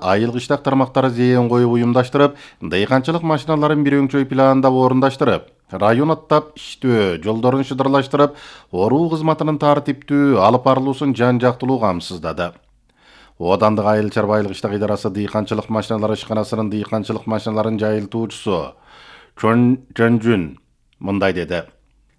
айыл кыштак тармактары зээн коюп уюмдаштырып, дыйканчылык машиналарын бир өңчөй планда орундаштырып, район аттап иштөө, жолдорун шыдырлаштырып, оруу кызматынын тартиптүү алып барылуусун жан-жактылуу камсыздады. Оодандык айыл чарба кыштак идарасы дыйканчылык машиналары ишканасынын дыйканчылык машиналарын жайылтуучусу Чөнжүн мындай деди.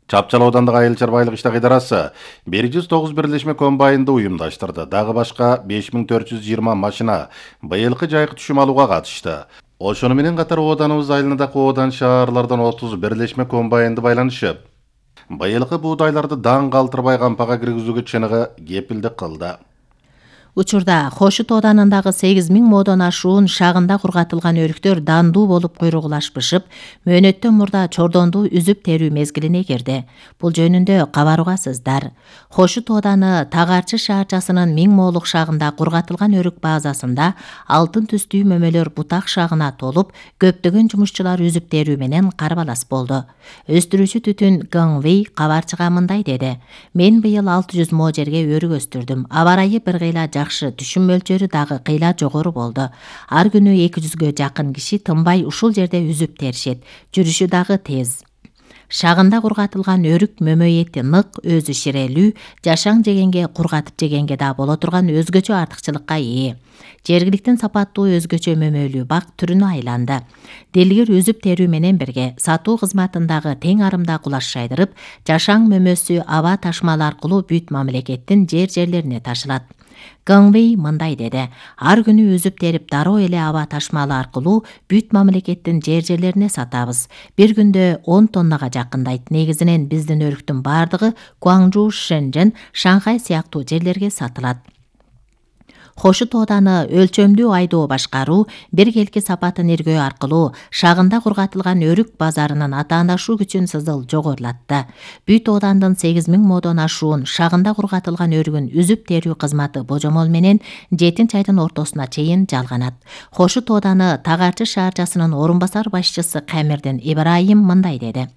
Чапчал оодандык айыл чарба кыштак идарасы 109 бирлешме комбайнды уюмдаштырды. Дагы башка 5420 машина быйылкы жайкы түшүм алууга катышты. Ошону менен катар ооданыбыз айылындагы оодан шаарлардан 30 бирлешме комбайнды байланышып, быйылкы буудайларды даң калтырбай кампага киргизүүгө чыныгы кепилдик кылды. Учурда Хошут ооданындагы 8000 модон ашуун шагында кургатылган өрүктөр дандуу болуп куйругулашпышып, мөөнөттөн мурда чордонду үзүп терүү мезгилине кирди. Бул жөнүндө кабар угасыздар. Хошут ооданы Тагарчы шаарчасынын 1000 молук шагында кургатылган өрүк базасында алтын түстүү мөмөлөр бутак шагына толуп, көптөгөн жумушчулар үзүп терүү менен карбалас болду. Өстүрүүчү түтүн Гыңвей кабарчыга мындай деди. Мен быйыл 600 мо жерге өрүк өстүрдүм. Аба ырайы бир кыйла жакшы, түшүм мөлчөрү дагы кыйла жогору болду. Ар күнү 200гө жакын киши тынбай ушул жерде үзүп теришет. Жүрүшү дагы тез. Шагында кургатылган өрүк мөмөй эти нык, өзү ширелүү, жашаң жегенге, кургатып жегенге да боло турган өзгөчө артыкчылыкка ээ. Жергиликтин сапаттуу өзгөчө мөмөлүү бак түрүнө айланды. Делгер үзүп терүү менен бирге сатуу кызматындагы тең арымда кулаш жайдырып, жашаң мөмөсү аба ташмалы аркылуу бүт мамлекеттин жерлерине ташылат. Гыңвей мындай деди. Ар күнү үзүп терип дароо эле аба ташмалы аркылуу бүт мамлекеттин жерлерине сатабыз. Бир күндө 10 тоннага жакындайт. Негизинен биздин өрүктүн бардыгы Гуаңжу, Шэньчжэн, Шанхай сыяктуу жерлерге сатылат. Хошут ооданы өлчөмдүү айдоо башкаруу, биргелки сапатын иргөө аркылуу шагында кургатылган өрүк базарынын атаандашуу күчүн сызыл жогорулатты. Бүт оодандын 8000 модон ашуун шагында кургатылган өрүгүн үзүп терүү кызматы божомол менен 7 айдын ортосуна чейин жалганат. Хошут ооданы Тагарчы шаарчасынын орун басар башчысы Камердин Ибраим мындай деди.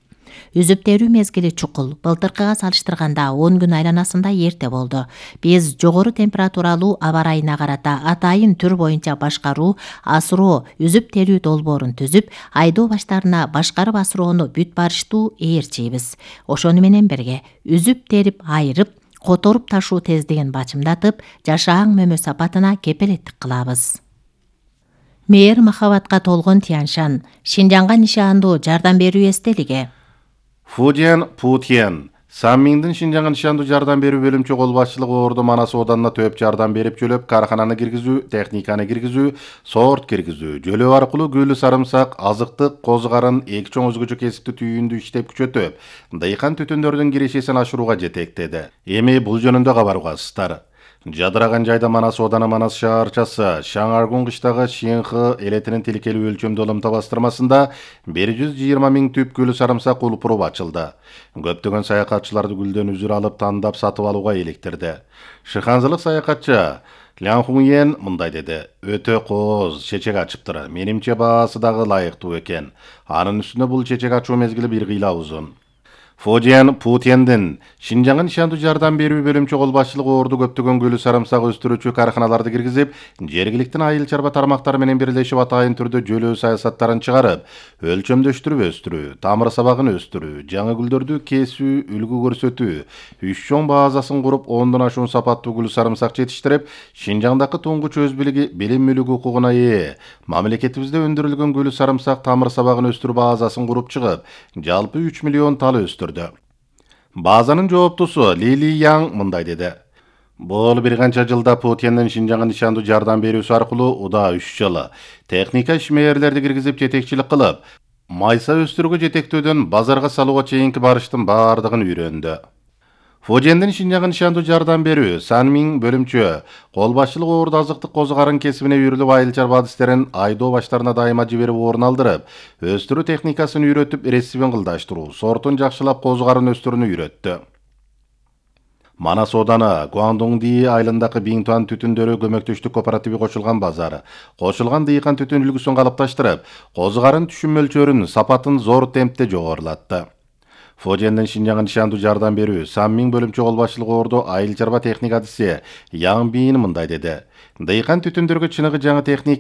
Үзүп терүү мезгили чукул. Былтыркыга салыштырганда 10 күн айланасында эрте болду. Биз жогору температуралуу аба ырайына карата атайын түр боюнча башкаруу, асыроо, үзүп терүү долбоорун түзүп, айдоо баштарына башкарып асыроону бүт барыштуу ээрчийбиз. Ошону менен бирге үзүп терип, айырып, которуп ташуу тездигин бачымдатып, жашаң мөмө сапатына кепилеттик кылабыз. Мээр махабатка толгон Тяньшан, Шинжаңга нишандуу жардам берүү эстелиги. Фуден Путен Саммиңдин Шинжаңга нишандуу жардам берүү бөлүмчө кол башчылыгы Ордо Манас ооданына төп жардам берип жөлөп, каркананы киргизүү, техниканы киргизүү, сорт киргизүү, жөлөө аркылуу гүлү сарымсак, азыктык, козу карын, эки чоң өзгөчө кесипти түйүндү иштеп күчөтүп, дыйкан түтүндөрдүн кирешесин ашырууга жетектеди. Эми бул жөнүндө кабар угасыздар. Жадыраган жайда Манас ооданы Манас шаарчасы Шаңаргун кыштагы Шинхы элетинин тилкелүү өлчөмдүү ылымта бастырмасында 120 000 түп гүлү сарымсак улпуруп ачылды. Көптөгөн саякатчыларды гүлдөн үзүр алып тандап сатып алууга иликтирди. Шыханзылык саякатчы Лян Хуньен мындай деди. Өтө кооз чечек ачыптыр. Менимче баасы дагы ылайыктуу экен. Анын үстүнө бул чечек ачуу мезгили бир кыйла узун. Фуден Путендин Шинжаңга нишандуу жардам берүү бөлүмчө кол башчылыгы Ордо көптөгөн гүлү сарымсак өстүрүүчү карканаларды киргизип, жергиликтин айыл чарба тармактары менен бирлешип атайын түрдө жөлөө саясаттарын чыгарып, өлчөмдөштүрүп өстүрүү, тамыр сабагын өстүрүү, жаңы гүлдөрдү кесүү, үлгү көрсөтүү, 3 чоң базасын куруп, 10дон ашуун сапаттуу гүлү сарымсак жетиштирип, Шинжаңдагы туңгуч өз билим мүлүк укугуна ээ, мамлекетибизде өндүрүлгөн гүлү сарымсак тамыр сабагын өстүрүү базасын куруп чыгып, жалпы 3 миллион тал өстүрдү. Базанын жооптусу Лили Яң мындай деди. Бул бир канча жылда Путендин Шинжаңга нишандуу жардам берүүсү аркылуу удаа 3 жылы техника ишмерлерди киргизип жетекчилик кылып, майса өстүрүүгө жетектөөдөн базарга салууга чейинки барыштын бардыгын үйрөндү. Фудендин Шинжаңга нишандуу жардам берүү Санмиң бөлүмчө кол башчылыгы Ордо азыктык козу карын кесибине үйрүлүп, айыл чарба адистерин айдоо баштарына дайыма жиберип орун алдырып, өстүрүү техникасын үйрөтүп, ресибин кылдаштыруу, сортун жакшылап козу карын өстүрүүнү үйрөттү. Манас ооданы Гуандоңди айылындагы Биңтуан түтүндөрү көмөктөштүк кооперативи кошулган базары, кошулган дыйкан түтүн үлгүсүн калыпташтырып, козу карын түшүм мөлчөрүн, сапатын зор темпте жогорулатты. Фудендин Шинжаңга нишандуу жардам берүү Саммиң бөлүмчө кол башчылыгы Ордо айыл чарба техника адиси Яң Бийин мындай деди. Дыйкан түтүндөргө чыныгы жаңы техника